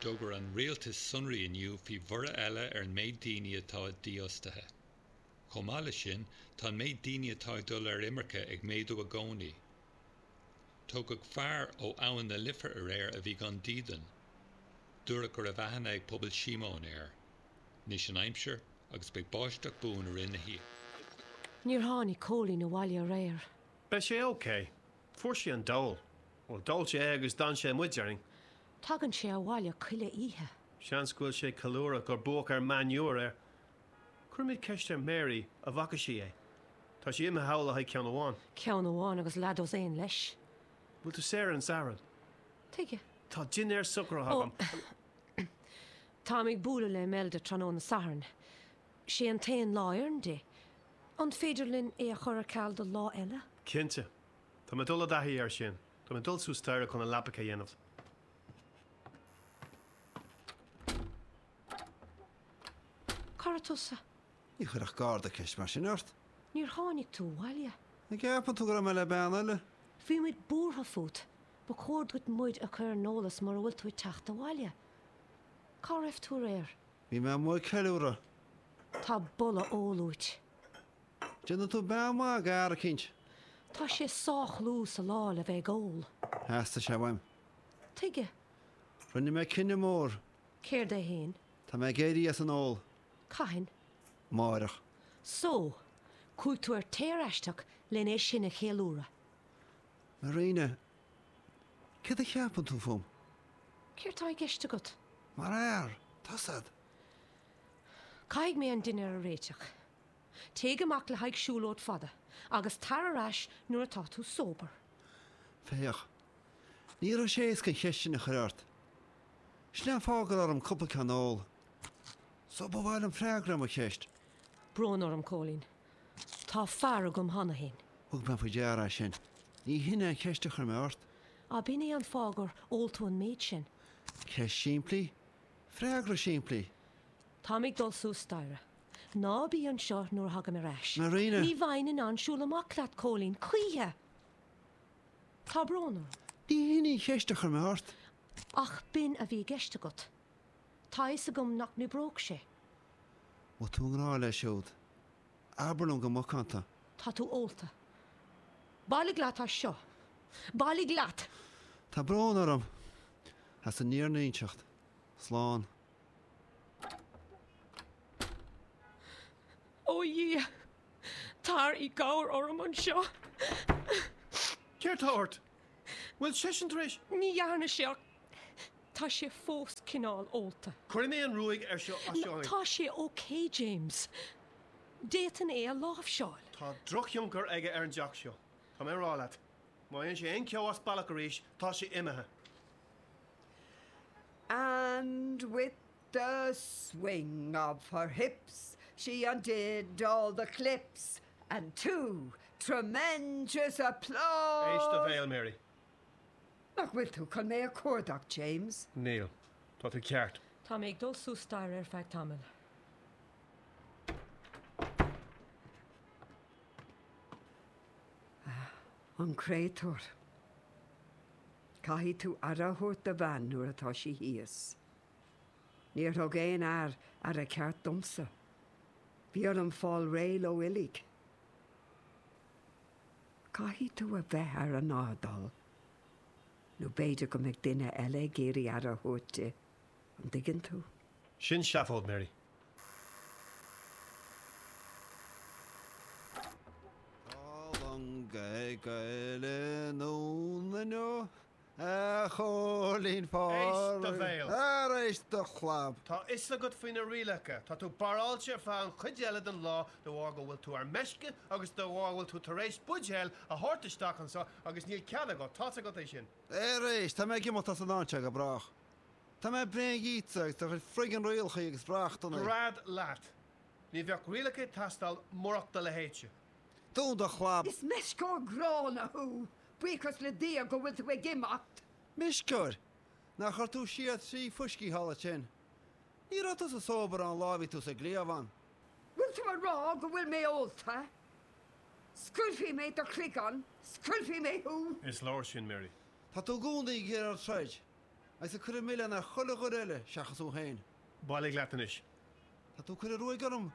D'fhógair an rialtas sonraí inniu faoi bhorradh eile ar an méid daoine atá dífhostaithe. Chomh maith leis sin, tá an méid daoine atá ag dul ar imirce ag méadú i gcónaí. Tógadh fear ó Abhainn na Life aréir a bhí gan dídean. Dúradh go raibh aithne ag pobal Shíomóin air. Anois an aimsir agus beidh báisteach buan i rith na hoíche. Níor tháinig Cóilín abhaile aréir. Beidh sé ok. Fuair sé an dól. Bhuel, d'ól sé é agus d'fhan sé amuigh, déarfainn. Tagann sé abhaile chuile oíche. Seans go bhfuil sé ag ceiliúradh gur buadh ar Man U aréir. Cuirfimid ceist ar Mary an bhfaca sí é. Tá sé imithe thall le haghaidh ceann amháin. Ceann amháin agus leathdosaen leis. Bhfuil tú saor ar an Satharn? Tuige? Tá dinnéar socraithe agam. Táim ag bualadh le Imelda tráthnóna Sathairn. Sé an t-aon lá a oireann di. An féidir linn é a chur ar ceal do lá eile? Cinnte. Tá mé ag dul i dtaithí air sin. Tá mé ag dul suas staighre chun an leapacha a dhéanamh. Cá raibh tusa? Ní chuirfeadh garda ceist mar sin ort. Níor tháinig tú abhaile. An gceapann tú go raibh mé le bean eile? Bhí muid buartha fút. Ba chóir duit muid a chur ar an eolas mura bhfuil tú ag teacht abhaile. Cá raibh tú aréir? Bhí mé amuigh ag ceiliúradh. Tá boladh óil uait. Déanann tú bean mhaith d'fhear eicínt. Tá sé sách luath sa lá le bheith ag ól. Theastaigh sé uaim. Tuige? Rinne mé cinneadh mór. Céard é fhéin? Tá mé ag éirí as an ól. Cathain? Amárach. So, chuaigh tú ar tear aisteach len é sin a cheiliúradh. Marina, céard a cheapann tú fúm? Céard tá i gceist agat? Mar fhear, tá's a'd. Caithfidh mé an dinnéar a réiteach. Téigh amach le haghaidh siúlóid fada agus tar ar ais nuair atá tú sober. Féach, ní raibh sé éasca an cheist sin a chur ort. Sin é an fáth go raibh orm cúpla ceann a ól. So ba mhaith liom freagra ar mo cheist. Brón orm, Cóilín. Tá fear agam cheana féin. Thug mé faoi deara é sin. Ní hin é an cheist a chuir mé ort. Ab in é an fáth gur ól tú an méid sin? Ceist simplí, freagra simplí. Táim ag dul suas staighre. Ná bí anseo nuair a thagaim ar ais. Marina! Ní bheinn in ann siúl amach leat, Cóilín, choíche! Tá brón orm. Ní hin í an cheist a chuir mé ort. Ach b'in a bhí i gceist agat. Tá a fhios agam nach n-oibreodh sé. Bhfuil tú i ngrá leis siúd? Abair liom go macánta. Tá tú ólta. Bailigh leat as seo. Bailigh leat! Tá brón orm as an fhírinne a inseacht. Slán. Ó a Dhia, tar i gcabhair orm anseo. Céard tá ort? Bhfuil seisean tar éis. Ní dhearna sé ach tá sé fós cineál ólta. Cuirfidh mé an ruaig air seo as seo. Tá sé ok, James. D'fhéadfainn é a láimhseáil. Tá drochthionchar aige ar an dteach seo. Tá mé a rá leat. Má dhéanann sé aon cheo as bealach arís, tá sé imithe. And with the swing of her hips she undid all the clips and to tremendous applause. Éist do bhéal, Mary. Nach bhfuil tú chun mé a chuardach, James? Níl. Tá tú ceart. Tá mé ag dul suas staighre ar feadh tamaill. An créatúr. Caithfidh tú aire a thabhairt do bhean nuair atá sí thíos. Níor thug aon fhear aire ceart domsa. Bhí orm fáil réidh leo uilig. Caithfidh tú a bheith ar an airdeall, nó b'fhéidir go mbeidh duine eile ag iarraidh aire a thabhairt di, an dtuigeann tú? Sin seafóid, Mary. Tá long ag goil anonn inniu, a Chóilín Éist do bhéal. Ar éist do chlab. Tá fhios agat faoi na rialacha. Tá tú barráilte ar feadh an chuid eile den lá de bharr go bhfuil tú ar meisce agus de bharr go bhfuil tú tar éis buidéal a thabhairt isteach anseo agus níl cead agat, tá's agat é sin. Ar éist, tá mé ag imeacht as an áit seo go brách. Tá mé bréan dhíotsa agus do chuid friggin' rialacha agus reachtanna. Gread leat. Ní bheadh rialacha ag teastáil murach do leithéidse. Dún do chlab! Is meisceoir gránna thú! Buíochas le Dia go bhfuil tú ag imeacht! Meisceoir! Nár chuir tú siar trí fuiscí thall ansin? Ní raibh tusa sober an lá a bhí tú sa gcliabhán. Bhfuil tú a rá go bhfuil mé ólta? Scoiltfidh mé do chloigeann! Scoiltfidh mé thú! Is leor sin, Mary. Tá tú i gcónaí ag iarraidh troid. Agus ag cur an milleán ar chuile dhuine eile seachas thú féin. Bailigh leat anois. Tá tú ag cur an ruaig orm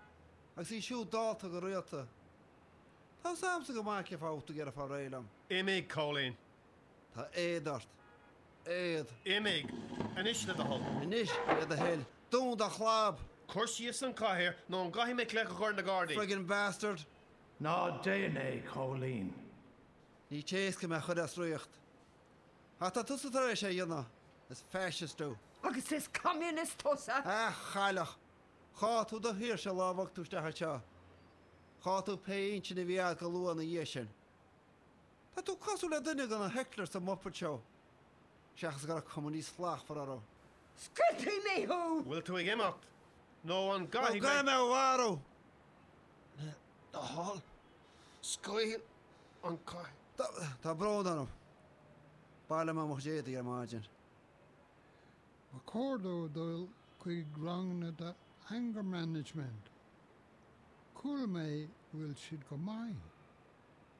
agus í siúd dálta go rialta. Tá fhios a'msa go maith cén fáth a bhfuil tú ag iarraidh fáil réidh liom. Imigh, Cóilín. Tá éad ort. Éad. Imigh. Anois, le do thoil. Anois, le do thoil. Dún do chlab! Cuir síos an chathaoir nó an gcaithfidh mé glaoch a chur ar na Gardaí? Friggin bastard! Ná déan é, Cóilín. Ní éasca mé a chur as riocht. Ach tá tusa tar éis é a dhéanamh. Is fascist thú. Agus is communist tusa! A chailleach! Chaill tú do shaoirse an lá a bhog tú isteach anseo. Chaill tú pé intinn a bhí agat go luath ina dhiaidh sin. Tá tú cosúil le duine de na hecklers sa Muppet Show, seachas go raibh cuma níos slachtmhara orthu. Scoiltfidh mé thú! Bhfuil tú ag imeacht? Nó an gcaithfidh mé. Nó gcaithfidh mé a mharú! Le do thoil, scaoil an cathaoir. Tá brón orm. Baileoidh mé mo chuid éadaí ar maidin. Ba chóir dó dul chuig ranganna de anger management. Chuala mé go bhfuil siad go maith.